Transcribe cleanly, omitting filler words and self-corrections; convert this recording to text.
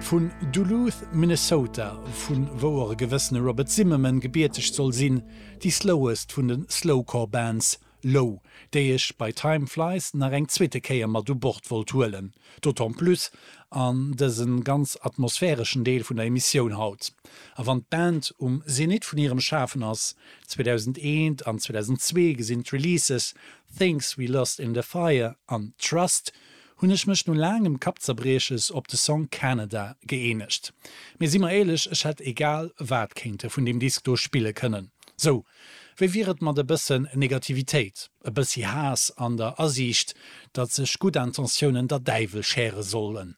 Vun Duluth, Minnesota, vu wou och e gewëssene Robert Zimmerman gebierteg soll sinn, déi slowest vun de Slowcore Bands, Low, déi ech bei Time Flies nach eng zweete Kéier mat u Bord wollt huelen, d'autant plus an dëse ganz atmosphäreschen Deel vun der Emissioun haut. A wann d'Band um Zenit vun hirem Schafen ass, 2001 an 2002 gesinn d'Releases Things We Lost in the Fire an Trust, hunn ech mech no laangem Kappzerbrieches op de Song Canada gëeenegt. Mee si mer éierlech, ech hätt egal wat kéinte vun deem Disk do spille kënnen. Sou, wéi wier et mat e bëssen Negativitéit, e bëssi Haass an der Asiicht, datt sech gutt Intentiounen der Däiwel schäre sollen?